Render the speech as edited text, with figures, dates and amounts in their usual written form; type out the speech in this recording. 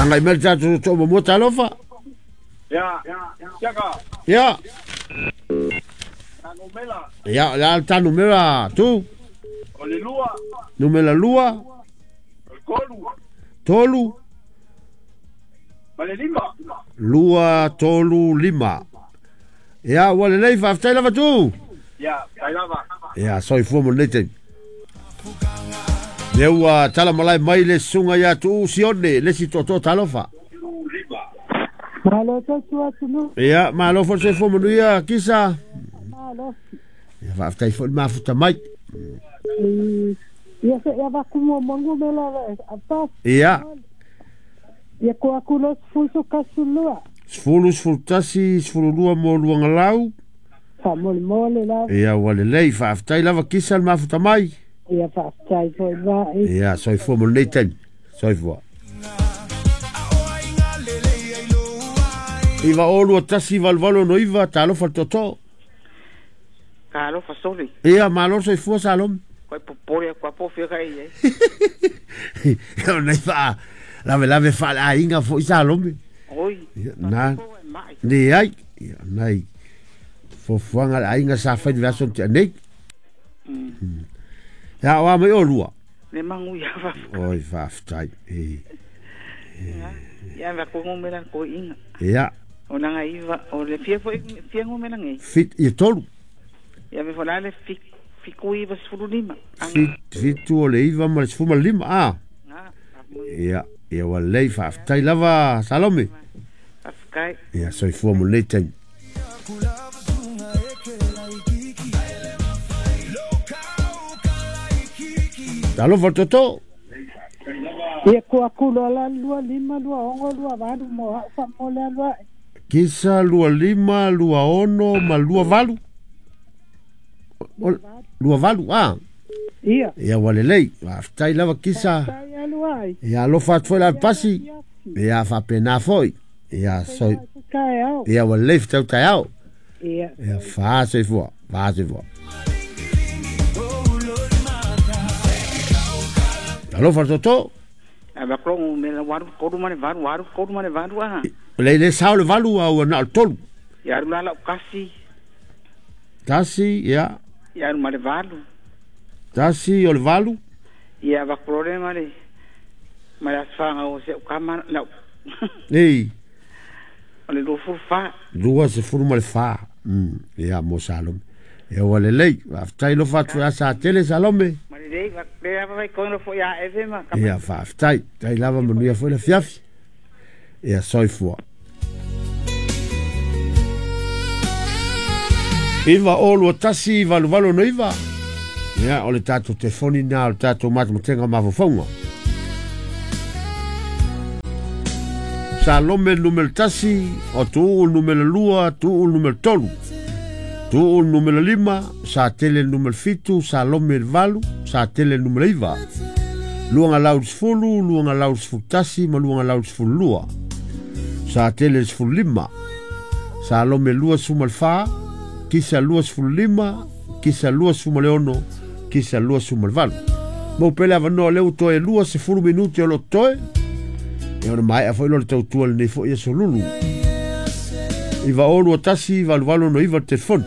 Agai mai le tatou tootoo muamua talofa. Ia, siaka. Ia. Ta numera. Ia, o le a le ta numera tu? O le 2. Numera 2. O le 3. 3. Ma le 5. 2, 3, 5. Ia, ua lelei, faafetai lava tu. Ia, faafetai lava. Ia, soifua mo lenei taimi. Lea ua tala malae mai le susuga ia Tuuu Sione, le isi tootoo talofa. Malo tautua atunuu. Ia, malo foi le soifua manuia, Kisa. Malo. Ia, faafetai foi le mafuta mai. Ia, se i avatu muamua numera avatu. Ia. Ia ko aku lo 11, 10, 11, 12 mo Luagalau. Faamolemole lava. Ia, ua lelei, faafetai lava Kisa le mafuta mai. Ia, faafetai foi vai. Ia, soifua mo lenei taimi. Soifua. 9 o 2 1 8 8 6 9 talofa le tootoo. Talofa sole. Ia, malo soifua Salome. Koe popole aku apo fia ka i ai. Ia, nei faa lave lave faa le aiga foi Salome. Oi. Ia, na. Ni ai. Ia, nai. Fofuaga le aiga sa fai le aso tea nei. Ia, o a mai o lua. Le mangu ia fa. Oi, faafetai. E. Ia, va ko ngomela ko inga. Ia. O nanga iva, o le fia foi fia ngomela ngai. Fit ia tolu. Ia me fola le fi fiku iva sefulu lima. Fitu o le iva ma le sefulu ma le lima. Ah. Ia, ia ua lelei, faafetai lava Salome. Faafetai. Ia, soifua mo lenei taimi. Talofa le tootoo. Ia ko aku loa la 2 5 2 6 2 8 mo au faamole alu ae. Kisa 2 5 2 6 ma 2 8. 2 8, ah. Ia. Ia, ua lelei, faafetai lava Kisa. Faafetai alu ai. Ia, alofa atu foi la pasi. Ia, faapena foi. Ia, soi. Ia, ua lelei fetau taeao. Ia. Ia, fā soifua, fā soifua. Talofa le tootoo. A va ko me la waru ko ma le varu waru ko ma le varu ah. Le le sao le valu au na o le tolu. Ia aru la kasi. Tasi, ia. Ia aru ma le valu. Tasi o le valu. Ia va ko le ma le ma la sfanga o se kama la. Ei. O le lufu fa. Lua se furu ma le fa. Ia mo Salome. Ia ua lelei, faafetai lofa atu ia sa tele Salome. Ma lelei, va le lava vai kono fo ia eve ma. Ia faafetai, tai lava manuia foi le fiafi. Ia soifua. 9 o 2 1 8 8 9. Ia, o le tatou telefoni na o le tatou matematenga mafaufauga. Salome numera 1, o Tuuu numera 2, Tuuu numera 3. Tuuu numera 5, Sa Tele numera 7, Salome le 8, Sa Tele numera 9. Luanga lau 10, luanga lau 11, ma luanga lau 12. Sa Tele 15. Salome 24, Kisa 25, Kisa 26, Kisa 28. Mo pele avanoa leu toe 20 minuti o lo toe. Ia ona maea foi lo le tautua lenei foi aso lulu. 9 o 2 1 8 8 9 telefoni.